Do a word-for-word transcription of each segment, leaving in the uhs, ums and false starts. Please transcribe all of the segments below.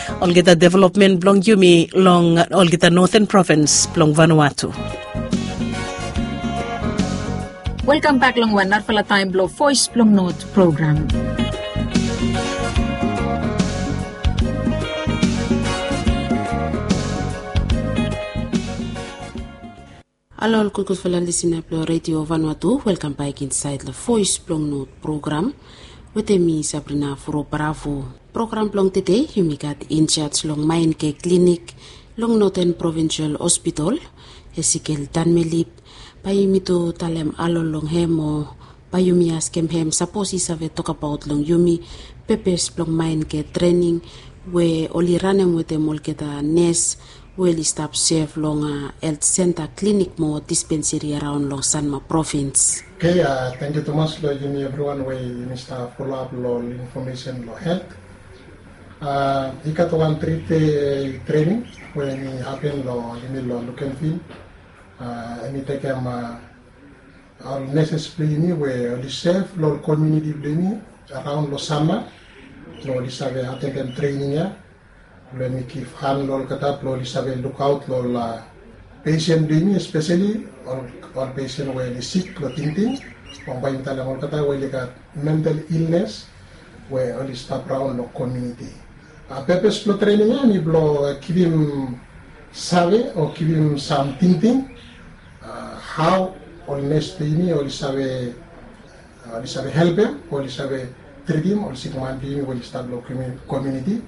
Olgeta development blong yumi long olgeta Northern Province blong Vanuatu. Welkam bek long wan narafala taem blong Voes blong Not program. Halo ol gudgudfala lisina blong Redio Vanuatu, welkam bek insaed long Voes blong Not program wetem mi Sabrina Furo Bravo. Program blong tede yumi gat injaj long Maenke Klinik long Northern Provincial Hospital, Ezekiel Tanmelip. Bae yumi tu talem halo long hem o bae yumi askem hem sapos i save tokbaot long yumi pepes blong Maenke trening we oli ranem wetem olgeta nes we oli stap sef long helt senta, klinik mo dispenseri araon long Sanma Provins. Oke, tangkiu tumas long yumi evriwan we yumi stap foloap long ol infomesen long helt. I gat wan tri dei trening we hemi hapen long yumi long Lukenvil. Hemi tekem ol neses blong yumi we oli sef long ol komuniti blong yumi araon long Sanma blong oli save atendem trening ya blong hemi givhan long olgeta blong oli save lukaot long ol pesen blong yumi, espeseli ol pesen we oli sik long tingting, o bae mi talem olgeta we oli gat mental ilnes we oli stap raon long komuniti. Pepes blong trening ya hemi blong givim save o givim sam tingting hao ol nes blong yumi oli save oli save helpem o oli save tritim ol sikman blong yumi we oli stap long komuniti.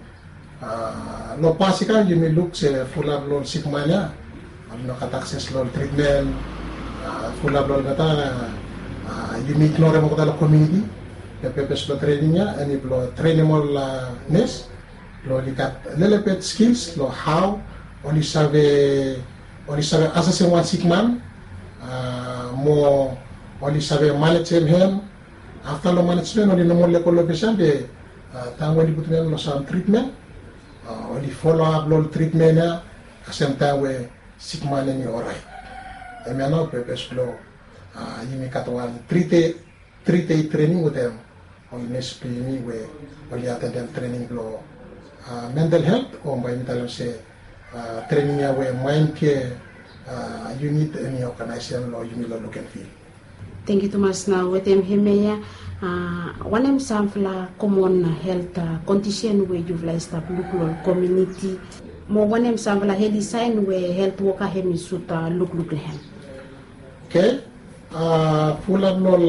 Long pas i kam yumi luk se fulap long ol sikman ya oli no gat akses long ol tritmen. Fulap long olgeta yumi ignorem olgeta long komuniti. Be pepes blong trening ya hemi blong trenem ol nes blong oli gat lelebet skils long hao oli save oli save asesem wan sikman mo oli save manejem hem. Afta long manejmen oli no moa lego long ofis ya be taem we oli putum hem long sam tritmen oli foloap long ol tritmen ya kasem taem we sikman hemi oraet. Hemia nao pepes blong yumi gat wan tri dei tri dei trening wetem ol nes blong yumi we oli atendem trening blong mental helt o bae yumi talem se trening ya we Maenke yunit hemi oganaesem long yumi long Lukenvil. Tangkiu tumas. Nao wetem hemia ya, wanem samfala komon helt kondisen we yufala i stap luk long komuniti mo wanem samfala heli saen we helt woka hemi sud lukluk long hem? Oke. Fulap long ol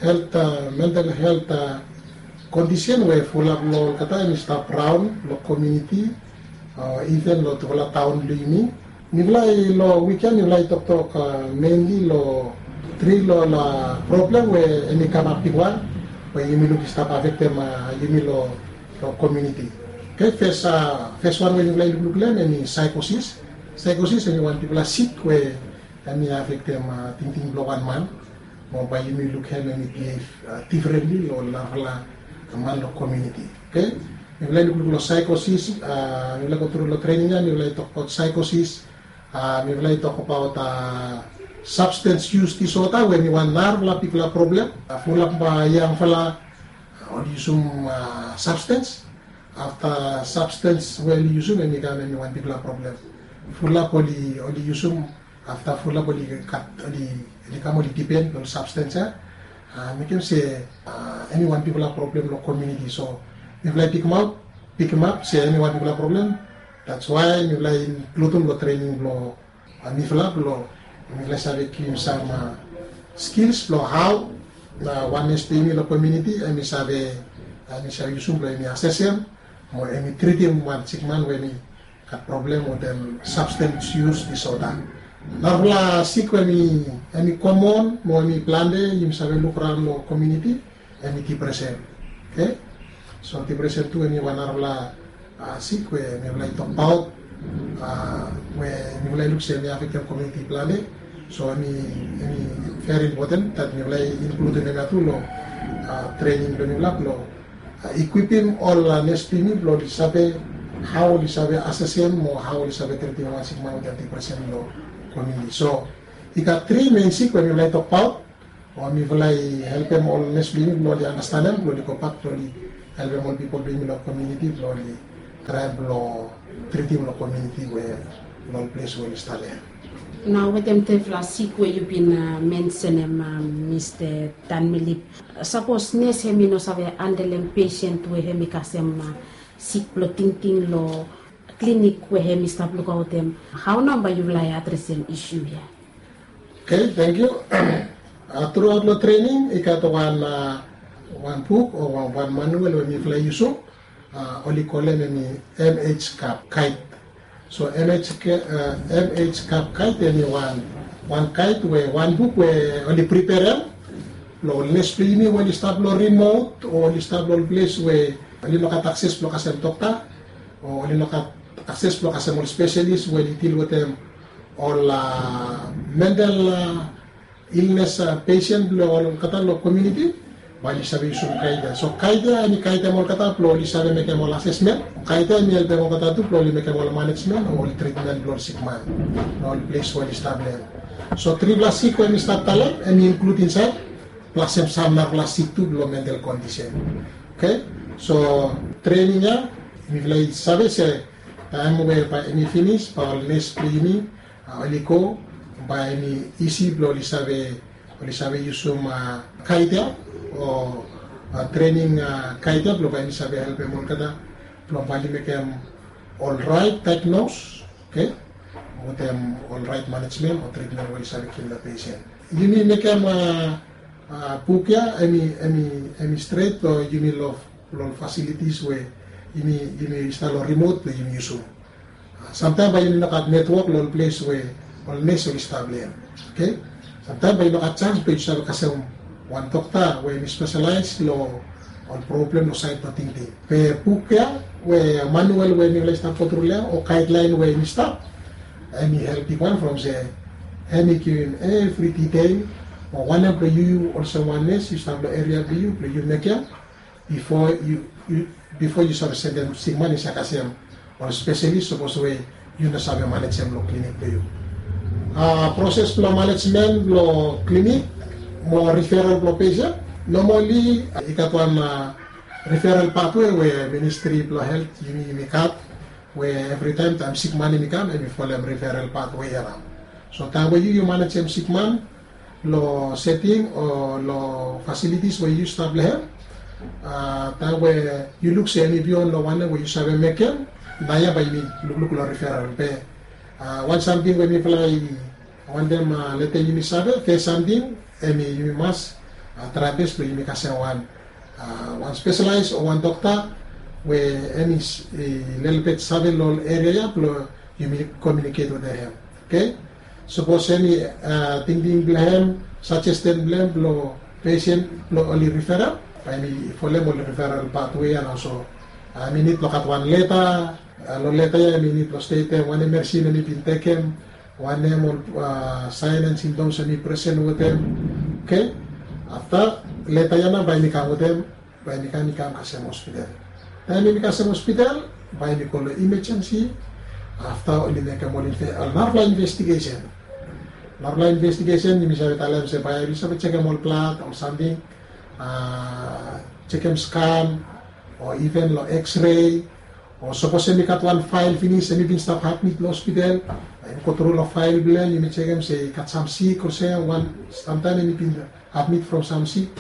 helt mental helt kondisen we fulap long olgeta hemi stap raon long komuniti o iven long tufala taon blong yumi. Mifala i long wik ya mifala i toktok menli long tri long ol problem we hemi kamap bigwan we yumi luk i stap afektem yumi long komuniti. Oke, fes wan we mifala i lukluk long hem hemi saekosis. Saekosis hemi wan bigfala sik we hemi afektem tingting blong wan man mo bae yumi luk hem hemi bihev difrenli long ol narafala man long komuniti. Oke, mifala i lukluk long saekosis. Mifala i go tru long trening ya mifala i tokbaot saekosis. Mifala i tokbaot sabstens yus disota we hemi wan narafala bigfala problem. Fulap yangfala oli yusum sabstens. Afta sabstens we oli yusum hemi kam hemi wan bigfala problem. Fulap oli yusum afta fulap oli gat oli kam oli dipen long sabstens ya. Mekem se hemi wan bigfala problem long komuniti so mifala i pikimap pikimap se hemi wan bigfala problem. That's why mifala i inkludim long trening blong mifala blong mifala i save givim sam skils blong hao na wan nes blong yumi long komuniti hemi save hemi save yusum blong hemi asesem mo hemi tritim wan sikman we hemi gat problem wetem sabstens yus disota. Narafala sik we hemi komon mo hemi plante yumi save luk raon long komuniti hemi dipresen. Oke, so dipresen tu hemi wan narafala sik we mifala i tokbaot we mifala i luk se hemi afektem komuniti plante. So hemi hemi veri impoten dat mifala i inkludim hemia tu long trening blong mifala blong ikwipim ol nes blong yumi blong oli save hao oli save asesem mo hao oli save tritim wan sikman wetem dipresen long komuniti. So i gat tri men sik we mifala i tokbaot o mifala i helpem ol nes blong yumi blong oli anastanem blong oli gobak blong oli helpem ol pipol blong yumi long komuniti blong oli traem blong tritim long komuniti we long ol ples we oli stap ya. Nao wetem tufala sik we yu bin mensenem, Mista Tanmilip, sapos nes hem i no save handelem pesen we hem i kasem sik blong tingting long klinik we hem i stap lukaotem, hao nao bae yufala i adresem isu ya? Oke, tangkiu. Truaot long trening i gat wan, wan buk o wan manuel we mifala i yusum, oli kolem hemi MH Kap Kait. So MH Kap Kait hemi wan, wan kait we wan buk we oli priperem long ol nes blong yumi we oli stap long rimot o oli stap long ol ples we oli no gat akses blong kasem dokta o oli no gat akses blong kasem ol spesalis we oli dil wetem ol mental ilnes pesen blong olgeta long komuniti, bae oli save yusum kait ya. So kait ya hemi kaitem olgeta blong oli save mekem ol asesmen. Kait ya hemi helpem olgeta tu blong oli mekem ol manejmen o ol tritmen blong ol sikman long ol ples we oli stap long hem. So trifala sik we mi stap talem hemi inklud insaed plas hem sam narafala sik tu blong mental kondisen. Oke, so trening ya mifala i save se taem we bae hemi finis bae ol nes blong yumi oli go bae hemi isi blong oli save, oli save yusum kait ya o trening kait ya blong bae hemi save helpem olgeta blong bae oli mekem ol raet diagnose, oke, wetem ol raet manejmen o tritmen we oli save givim long pesen. Yumi mekem buk ya hemi, hemi, hemi stret long yumi long, long ol fasilitis we yumi, yumi stap long rimot blong yumi yusum. Samtaem bae yumi no gat netwok long ol ples we ol nes oli stap long hem. Oke, samtaem bae yu no gat janis blong yu save kasem wan dokta we hemi spesalaes long ol problem long saed blong tingting. Be buk ya we manuel we mifala i stap gotru long ya o gaedlaen we hemi stap, hemi help bigwan from se hemi givim evri ditel o wanem blong yu, yu olsem wan nes yu stap long eria blong yu blong yu mekem bifo yu, yu, bifo yu save sendem sikman i save kasem ol spesalis sapos we yu no save manejem long klinik blong yu. Proses blong manejmen blong klinik mo riferal blong pesen, nomali i gat wan riferal patwe we Ministri blong Helt yumi, yumi gat, we evritaem taem sikman hemi kam hemi folem riferal patwe ya nao. So taem we yu, yu manejem sikman long seting o long fasilitis we yu stap long hem, taem we yu luk se hemi bion long wanem we yu save mekem, naoia bae yumi lukluk long riferal. Be wan samting we mifala i wantem letem yumi save, fes samting hemi yumi mas traem bes blong yumi kasem wan, wan spesalaes o wan dokta we hemi lelebet save long ol eria ya blong yumi komiuniket wetem hem. Oke, sapos hemi tingting blong hem, sajesten blong hem blong pesen blong oli riferal, bae hemi folem ol riferal patwe ya nao. So hemi nid blong gat wan leta, long leta ya hemi nid blong stetem wanem medisin hemi bin tekem, wanem ol saen and simptoms hemi presen wetem. Oke, afta leta ya nao bae hemi kam wetem, bae hemi kam, hemi kam kasem hospital. Taem hemi kasem hospital bae hemi go long imajensi. Afta oli mekem ol narafala investigesen. Narafala investigesen yumi save talem se bae oli save jekem ol blad, ol samting, jekem skan o iven long X-ray. O sapos hemi gat wan fael finis hemi bin stap admit long hospital, bae yumi gotru long fael blong hem, yumi jekem se i gat sam sik olsem, wan samtaem hemi bin admit from sam sik.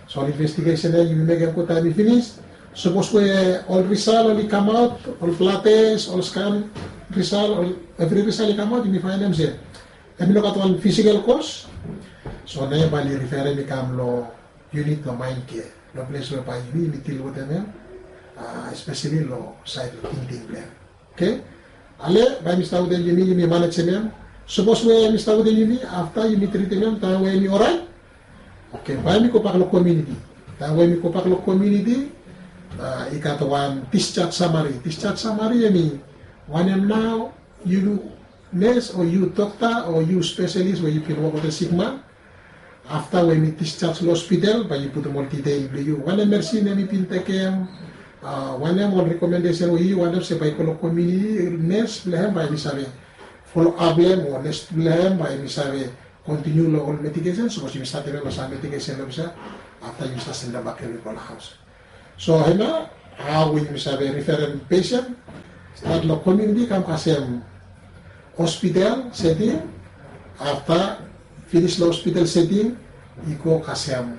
So ol investigesen ya yumi mekem gud taem i finis. Sapos we ol risal oli kamaot, ol blad tes, ol skan risal, ol evri risal i kamaot, yumi faenem se hemi no gat wan fisikel kos, so naoia bae oli riferem i kam long yunit blong maen kea, long ples we bae yumi, yumi dil wetem hem, espeseli long saed blong tingting blong hem. Oke, ale bae mi stap wetem yumi, yumi manejem hem. Sapos we mi stap wetem yumi, afta yumi tritim hem, taem we hemi oraet, oke, bae mi gobak long komuniti. Taem we mi gobak long komuniti, i gat wan discharge samari. Discharge samari hemi wanem nao, yu nes o yu dokta o yu spesalis we yu bin wok wetem sikman, afta we hemi discharge long hospital bae yu putum ol ditel blong yu, wanem medisin hemi bin tekem, wanem ol rekomendesen we yu wantem se bae i go long komuniti, nes blong hem bae hemi save foloap long hem, o nes blong hem bae hemi save kontiniu long ol medikesen, sapos yumi statem hem long sam medikesen long olsem, afta yumi stap sendem bak hem i go long haos. So hemia Hao we yumi save riferem pesen stat long komuniti kam kasem hospital seting, afta finis long hospital seting i go kasem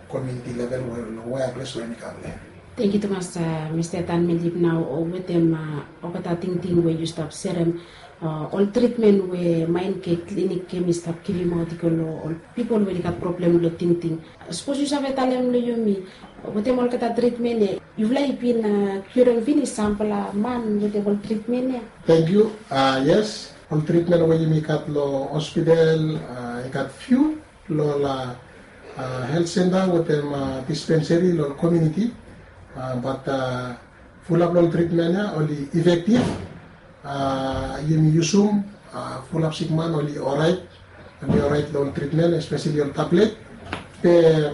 komuniti level we long wea ples we mi kam long hem. Tangkiu tumas, Mista Tan Melip, nao wetem olgeta tingting we yu stap serem, ol tritmen we Mind Care Clinic hemi stap givimaot i go long ol pipol we oli gat problem long tingting. Sapos yu save talem long yumi wetem olgeta tritmen ya, yufala i bin kiurem finis sampela man wetem ol tritmen ya? Tangkiu. Yes, ol tritmen we yumi gat long hospital i gat fiu long ol health center wetem dispensary long komuniti. Bat fulap long ol tritmen ya oli efektif. Yumi yusum, fulap sikman oli orait, oli orait long ol tritmen, espeseli ol tablet. Be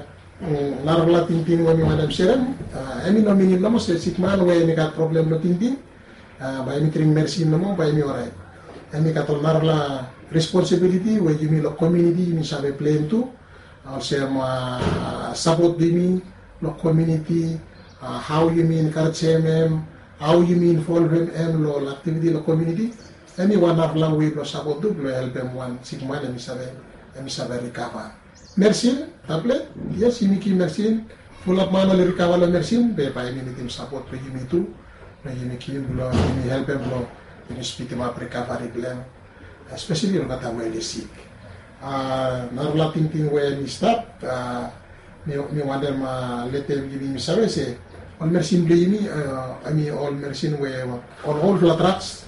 narafala tingting we mi wantem serem, hemi no minim nomo se sikman we hemi gat problem long tingting bae hemi dring meresin nomo bae hemi orait. Hemi gat ol narafala responsibiliti we yumi long komuniti yumi save pleim tu. Olsem sapot blong yumi long komuniti, hao yumi enkarejem hem, hao yumi involvem hem long ol aktiviti long komuniti. Hemi wan narafala wei blong sapot tu blong helpem wan sikman hemi save, hemi save rikava. Meresin, tablet, yes, yumi givim meresin. Fulap man oli rikava long meresin be bae hemi nidim sapot blong yumi tu, blong yumi givim blong yumi helpem blong yumi spidimap rikavari blong hem, espeseli olgeta we oli sik. Narafala tingting we hemi stap, mi wantem letem yumi save se ol meresin blong yumi, hemi ol meresin we ol olfala drags,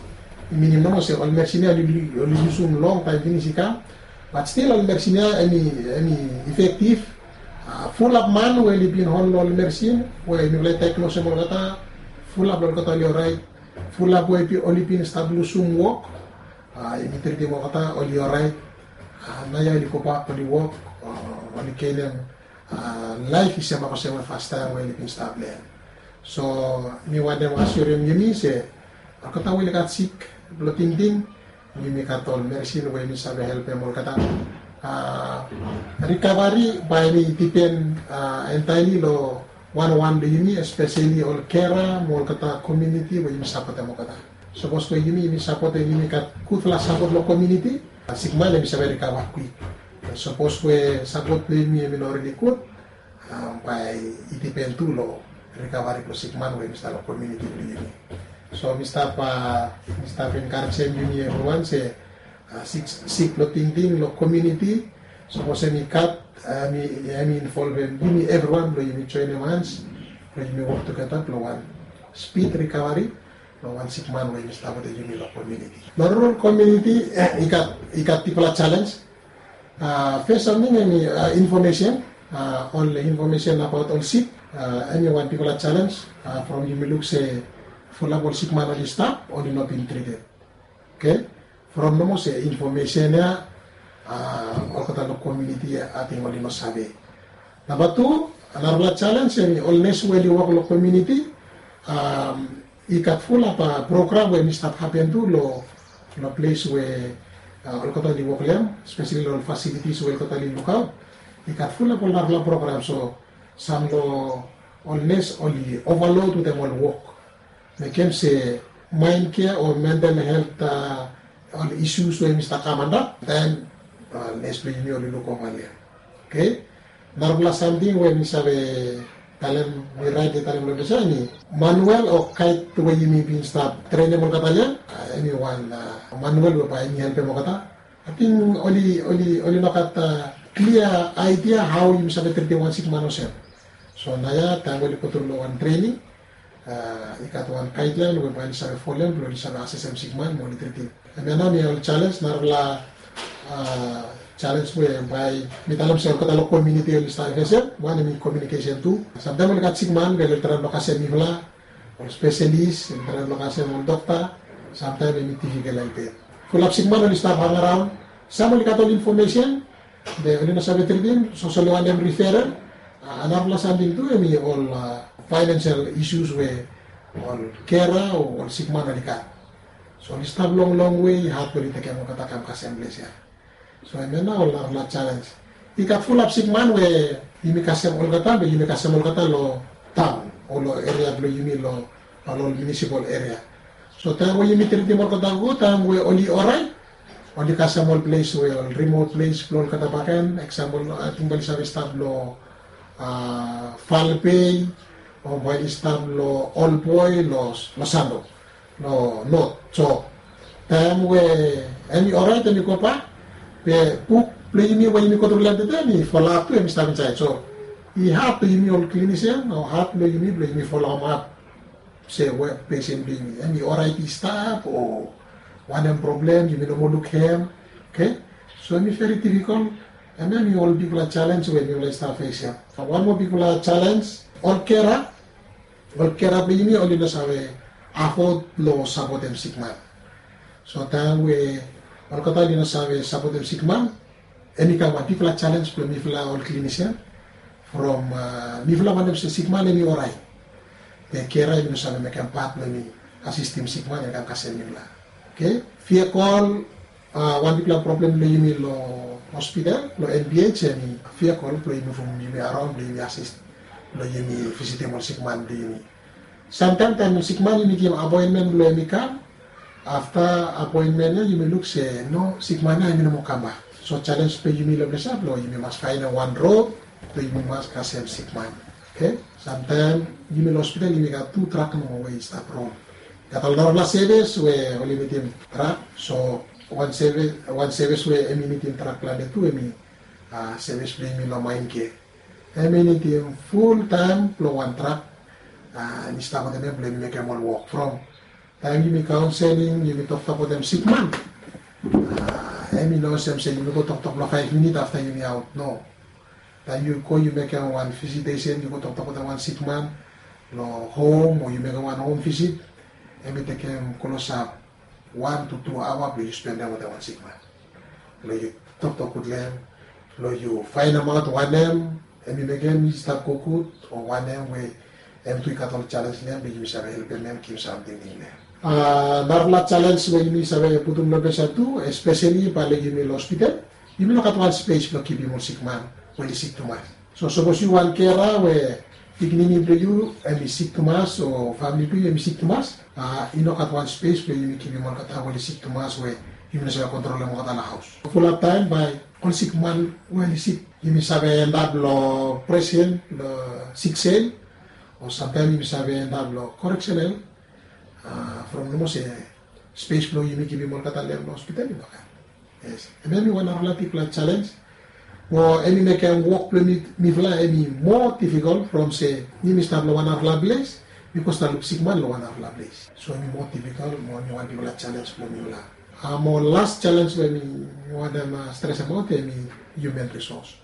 i minim nomo se ol meresin ya oli yusum longtaem finis i kam. Bat stil ol meresin ya hemi efektif. Fulap man we oli bin hol long ol meresin we mifala i daeglosem olgeta, fulap long olgeta oli orait. Fulap we oli bin stap lusum wok, yumi tritim olgeta, oli orait. Naoia oli gobak oli wok, oli genem laef i sem olsem we fastaem we oli bin stap long hem. So mi wantem asirem yumi se olgeta we oli gat sik blong tingting, yumi gat ol meresin we yumi save helpem olgeta. Rikavari bae hemi dipen entaeli long wanwan blong yumi, espeseli ol kera mo olgeta komuniti we yumi sapotem olgeta. Sapos we yumi, yumi sapotem, yumi gat gudfala sapot long komuniti, sikman hemi save rikava kwik. Sapos we sapot blong yumi hemi no rili gud, bae i dipen tu long rikavari blong sikman we hemi stap long komuniti blong yumi. So mi stap, mi stap enkarejem yumi evriwan se sik, sik blong tingting long komuniti, sapos hemi gat, hemi involvem yumi evriwan blong yumi joenem hans blong yumi wok tugeta blong wan spid rikavari long wan sikman we hemi stap wetem yumi long komuniti. Long rural komuniti i gat, i gat bigfala jalenj. Fes samting hemi infomesen, ol infomesen abaot ol sik, hemi wan bigfala jalenj. From yumi luk se fulap ol sikman oli stap, oli no bin trited. Oke, from nomo se infomesen ya olgeta long komuniti ating oli no save. Namba tu, narafala jalenj hemi ol nes we oli wok long komuniti. I gat fulap program we hemi stap hapen tu long, long ples we olgeta oli wok long hem, espeseli long ol fasilitis we olgeta oli lukaot. I gat fulap ol narafala program, so sam long ol nes oli ovalod wetem ol wok. Mekem se Mind Care o mental helt, ol isus we hemi stap kam antap, taem nes blong yumi oli lukova long hem. Oke. Narafala samting we mi save talem, mi raet ia talem long ples ya hemi manuel o gaed we yumi bin stap trenem olgeta long hem. Hemi wan manuel we bae hemi helpem olgeta. Ating oli, oli, oli no gat klia aedia hao yumi save tritim wan sikman olsem. So naoia taem we oli go tru long wan trening, i gat wan gaedlaen we bae oli save folem blong oli save asesem sikman mo oli tritim. Hemia nao hemi ol jalenj, narafala jalenj we bae mi talem se olgeta long komuniti oli stap fesem. Wan hemi komiunikesen tu. Samtaem oli gat sikman be oli traem blong kasem mifala, ol spesalis, oli traem blong kasem ol dokta. Samtaem hemi difikel long hem. Fulap sikman oli stap hangaraon. Sam oli gat ol infomesen be oli no save tritim, so oli wantem riferem. Narafala samting tu hemi ol faenensel isus we ol kera o ol sikman oli gat. So oli stap long longwe, had blong oli tekem olgeta kam kasem ples ia. So hemia nao ol narafala jalenj. I gat fulap sikman we yumi kasem olgeta be yumi kasem olgeta long taon. long eria blong yumi long ol munisipal eria. So taem we yumi tritim olgeta gud, taem we oli orait, oli kasem ol ples we ol rimot ples blong olgeta bakegen, eksampol ating bae oli save stap long Falbei o bae oli stap long Olboi, long Santo, long Not. So taem we hemi orait, hemi gobak, be buk blong yumi we yumi go tru long hem tede, hemi folap tu, hemi stap insaed. So i had blong yumi ol klinisian o had blong yumi blong yumi folem ap se we pesen blong yumi hemi orait i stap o wanem problem, yumi no moa luk hem. Oke. So hemi veri difikol, and hemi ol bigfala jalenj we mifala i stap fesem. Wan moa bigfala jalenj, ol kera, ol kera blong yumi oli no save afod blong sapotem sikman. So taem we olgeta oli no save sapotem sikman, hemi kam wan bigfala jalenj blong mifala ol klinisian. From mifala wantem se sikman hemi orait, be kera hemi no save mekem pat blong hemi asistem sikman, hemi kam kasem mifala. Oke. Vehicle, wan bigfala problem blong yumi long hospital, long N P H, hemi vehicle blong yumi, from yumi araon blong yumi asis, blong yumi visitim ol sikman blong yumi. Samtaem taem sikman yumi givim apoenmen blong hem i kam, afta apoenmen ya yumi luk se no, sikman ya hemi no moa kambak. So jalenj blong yumi long ples ya blong yumi mas faenem wan rod blong yumi mas kasem sikman. Oke. Samtaem yumi long hospital yumi gat tu trak nomo we i stap ron. Gat ol narafala sevis we oli nidim trak. So wan sevis, wan sevis we hemi nidim trak plante tu, hemi sevis blong yumi long Main Care. Hemi nidim fultaem blong wan trak, hemi stap wetem hem blong hemi mekem ol wok. From taem yumi kaonseling, yumi toktok wetem sikman, hemi no olsem se yumi go toktok blong faef minit afta yumi aot. No. Taem yu go yu mekem wan visitesen, yu go toktok wetem wan sikman long hom o yu mekem wan hom visit, hemi tekem klosap wan tu tu aoa blong yu spendem wetem wan sikman. Blong yu toktok gud long hem, blong yu faenemaot wanem hemi mekem i stap go gud o wanem we hem tu i gat ol jalenj long hem, blong yumi save helpem hem givim samting long hem. Narafala jalenj we yumi save putum long ples ya tu, espeseli bae long yumi long hospital, yumi no gat wan spes blong kipim ol sikman we oli sik tumas. So sapos yu wan kera we pikinini blong yu hemi sik tumas o famili blong yu hemi sik tumas, i no gat wan spes blong yumi kipim olgeta we oli sik tumas we yumi no save kontrolem olgeta long haos. Fulap taem bae ol sikman we oli sik, yumi save endap long presen, long siksel, o samtaem yumi save endap long koreksenel, from nomo se spes blong yumi givim olgeta long hem long hospital i no gat. Yes. Hemia hemi wan narafala bigfala jalenj. Mo hemi mekem wok blong mifala hemi moa difikol from se yumi stap long wan narafala ples, mi go stap luk sikman long wan narafala ples. So hemi moa difikol, mo hemi wan bigfala jalenj blong mifala. Mo las jalenj we mi wantem stresemaot hemi human resource.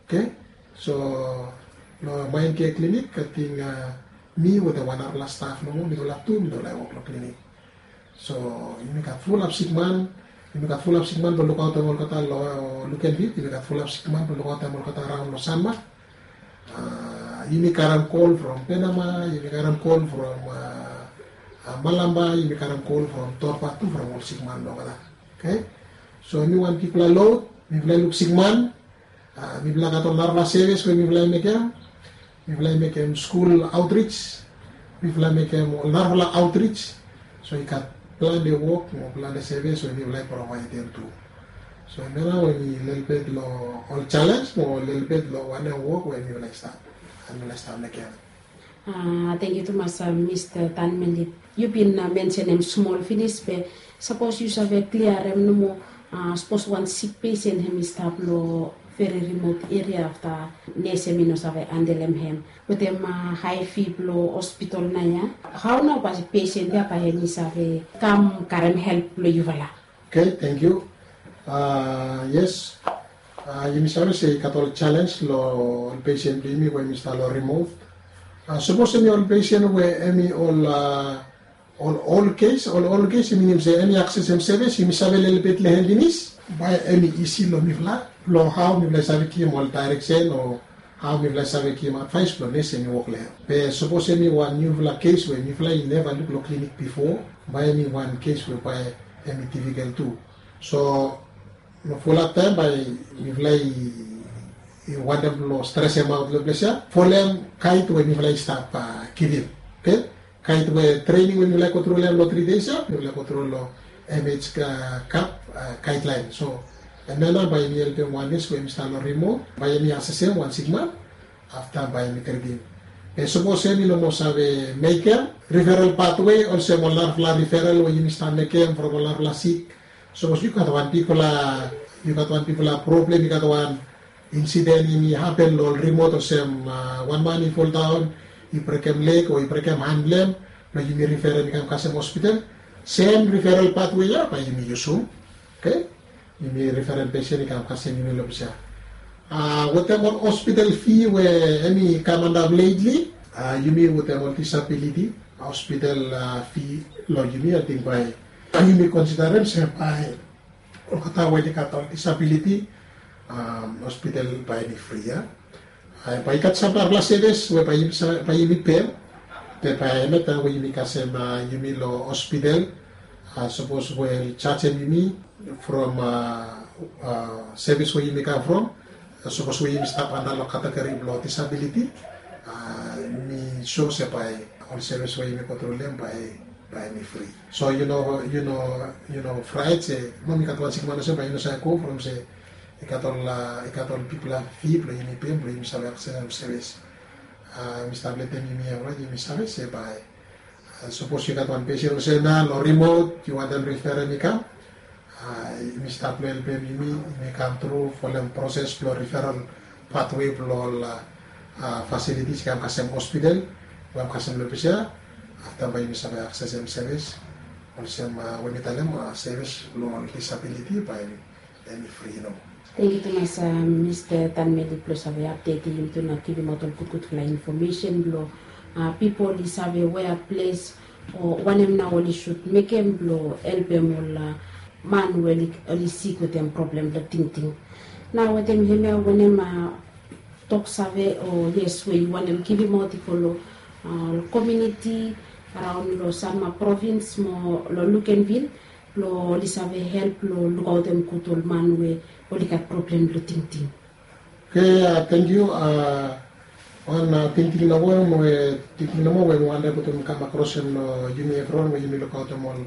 Oke. So long Main Care Clinic ating mi wetem wan narafala staf nomo, mifala tu mifala i wok long klinik. So yumi gat fulap sikman, yumi gat fulap sikman blong lukaotem olgeta long Lukenville, yumi gat fulap sikman blong lukaotem olgeta araon long Sanma. Yumi karem kol from Penama, yumi karem kol from Malamba, yumi karem kol from Torpa tu, from ol sikman blong olgeta. Oke. So hemi wan bigfala lod, mifala i luk sikman, mifala gat ol narafala sevis we mifala i mekem. Mifala i mekem skul aotrij, mifala i mekem ol narafala aotrij. So i gat plante wok mo plante sevis we mifala i provaedem tu. So hemia nao hemi lelebet long ol jalenj mo lelebet long wanem wok we mifala i stap, mifala i stap mekem. Tangkiu tumas, Mista Tanmeli. Yu bin mensenem smol finis, be sapos yu save kliarem nomo, sapos wan sik pesen hemi stap long veri rimot eria afta nes hemi no save handelem hem wetem hae fi blong hospital nao ya, hao nao bae pesen ya bae hemi save kam karem help blong yufala? Oke, tangkiu. Yes. Yumi save se i gat ol jalenj long ol pesen blong yumi we hemi stap long rimot. Sapos hemi ol pesen we hemi ol, ol ol kes, ol ol kes i minim se hemi aksesem sevis, yumi save lelebet long hem finis, bae hemi isi long mifala blong hao mifala i save givim ol daereksen o hao mifala i save givim advaes blong nes hemi wok long hem. Be sapos hemi wan niufala kes we mifala i neva luk long klinik bifo, bae hemi wan kes we bae hemi difikel tu. So long fulap taem bae mifala i wantem blong stresemaot long ples ya, folem gaed we mifala i stap givim. Oke, kaet we trening we yumi laek go tru long hem long tri days ya, yumi laek go tru long M H K, kap, a, gaedlaen. So hemia nao bae yumi helpem wan nes we yumi stap long rimot, bae yumi asesem wan sikman, afta bae yumi tritim. Be sapos hem i no moa save mekem riferal patwe olsem ol narafala riferal we yumi stap mekem from ol narafala sik, sapos yu gat wan bigfala, yu gat wan bigfala problem, yu gat wan insiden i hapen long ol rimot olsem, a, wan man i foldaon, i brekem leg o i brekem han blong hem, blong yumi riferem i kam kasem hospital, sem riferal patwe ya bae yumi yusum. Oke, yumi riferem pesen i kam kasem yumi long ples ya. A, wetem ol hospital fi we hem i kam antap letli, a, yumi wetem ol disabiliti, a, hospital, a, fi long yumi, ating bae yumi konsiderem se bae olgeta we oli gat ol disabiliti, a, hospital bae hem i fri ya. A, bae i gat sam narafala sevis we bae yumi sa-, bae yumi pem. Be bae hemia taem we yumi kasem, a, yumi long hospital, a, sapos we oli jajem yumi from, a, a, sevis we yumi kam from, a, sapos we yumi stap antap long kategori blong disabiliti, a, mi sua se bae ol sevis we yumi go tru long hem bae bae hem i fri. So yu no, yu no, yu no fraet se, mo mi gat wan sikman olsem bae yu no save go from se i gat ol, a, i gat ol bigfala fi blong yumi pem blong yumi save aksesem sevis. A, mi stap letem yumi evriwan yumi save se bae, a, sapos yu gat wan pesen olsem ya long rimot yu wantem riferem i kam, a, yumi stap long helpem yumi, yumi kam tru folem proses blong riferal patwe blong ol, a, a, fasilitis i kam kasem hospital, we hem kasem long ples ya, afta bae yumi save aksesem sevis olsem, a, we mi talem, a, sevis blong ol disabiliti bae hem i fri nomo. Tangkiu tumas, a, Mista Tanmeli blong save apdetem yumi tu na givimaot ol gudgudfala infomesen blong, a, pipol i save wea ples o wanem nao oli sud mekem blong helpem ol, a, man we oli, oli sik wetem problem blong tingting. Nao wetem hemia wanem, a, tok save o yes we yu wantem givimaot i go long, a, long komuniti araon long Sanma provins mo long Luganville blong oli save help long lukaotem gud ol man we oli gat problem blong tingting. Oke, a, tangkiu, a, wan, a, tingting nomo we, tingting nomo we mi wantem putum kam akros hem long yumi evriwan we yumi lukaotem ol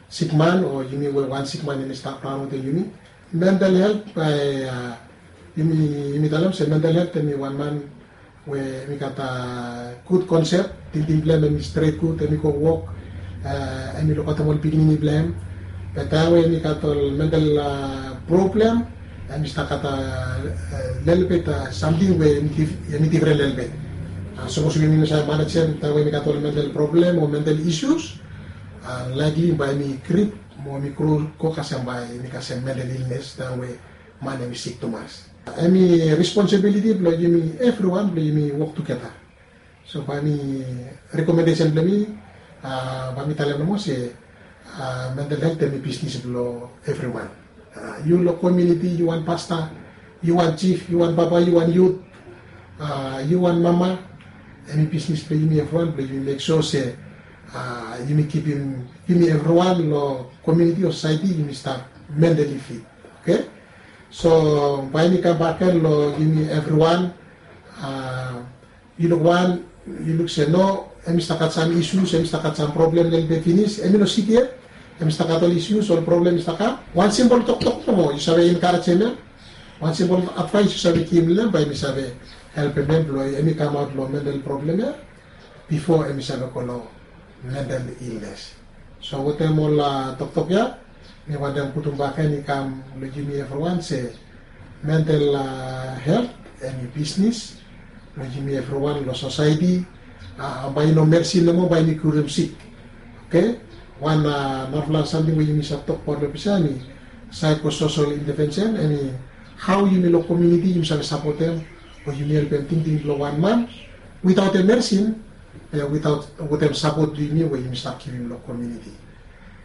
sikman o yumi we wan sikman hem i stap raon wetem yumi. Mental helt bae, a, yumi, yumi talem se mental helt hem i wan man we hem i gat, a, gud konsep, tingting blong hem hem i stret gud, hem i go wok, a, hem i lukaotem ol pikinini blong hem. Be taem we hem i gat ol mental, a, problem, hem i stap gat, a, a, lelebet, a, samting we hem i dif-, hem i difren lelebet. A, sapos we yumi no save manejem taem we hem i gat ol mental problem o mental issues, a, likely bae hem i grip mo hem i gro go kasem bae hem i kasem mental illness taem we man hem i sik tumas. Hem i responsibiliti blong yumi evriwan blong yumi wok tugeta. So bae mi, rekomendesen blong mi, a, bae mi talem nomo se, a, mental helt hem i bisnis blong evriwan. A, yu long komuniti, yu wan pasta, yu wan jif, yu wan papa, yu wan yut, a, yu wan mama, hem i bisnis blong yumi evriwan blong yumi mek sua se, a, yumi kipim, yumi evriwan long komuniti o sosaeti yumi stap mentali fit. Oke? So bae mi kam bak gen long yumi evriwan, a, yu luk wan, yu luk se no, hem i stap gat sam isus, hem i stap gat sam problem lelebet finis, hem i no sik yet, hem i stap gat ol isus, ol problem i stap kam. Wan simpol toktok nomo yu save enkarejem hem, wan simpol advaes yu save givim long hem, bae mi save helpem hem blong hem i kamaot long mental problem ya bifo hem i save go long mental illness. So wetem ol, a, toktok ya, mi wantem putum bak gen i kam long yumi evriwan se mental, a, helt hem i bisnis blong yumi evriwan long sosaeti. A, bae i no medsin nomo bae hem i kiurim sik. Oke? Wan, a, narafala samting we yumi save tokbaot long ples ya hem i psychosocial intervention, hem i hao yumi long komuniti yumi save sapotem o yumi helpem tingting blong wan man witaotem medsin, e, witaot, wetem sapot blong yumi we yumi stap givim long komuniti.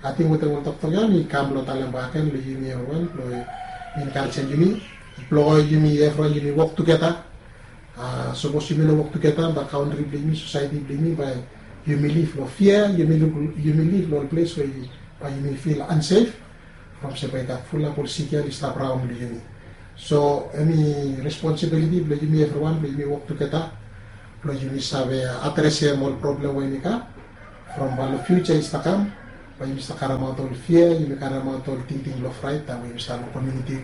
Ating wetem ol toktok ya mi kam blong talem bak gen long yumi evriwan blong enkarejem yumi blong yumi evriwan yumi wok tugeta. A, sapos yumi no wok tugeta bae kantri blong yumi, sosaeti blong yumi bae yumi liv long fia, yumi liv, yumi liv long ol ples we bae yumi fil ansef. From se bae i gat fulap ol sik ya oli stap raon long yumi. So hem i responsibiliti blong yumi evriwan blong yumi wok tugeta. Blong yumi save adresim ol problem we yumi gat from bae long fiuja i stap kam, bae yumi stap karemaot ol fia, yumi karemaot ol tingting blong fraet, taem we yumi stap long komuniti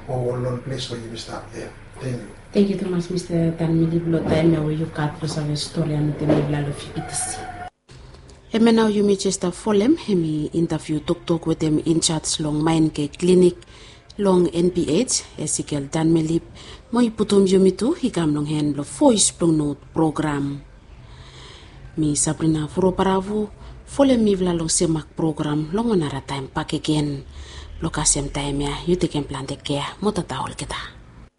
o ol lon ples we yumi stap ia. Thank you. Thank you tumas Mr. Tanmili blong taem ia we yu gat blong save stori ya metem mifala long F B T C. Hemia nao yumi jes stap folem hemi intaviu toktok wetem injaj long Maenke Klinik long N P H, Ezekiel Tanmili, mo i putum yumi tu i kam long han blong Voes blong Not program. Mi Sabrina Furobaravu, folem mifala long semak program long wan nara taem bakegen. Blong kasem taem ia yu tekem plante kea mo tata olgeta.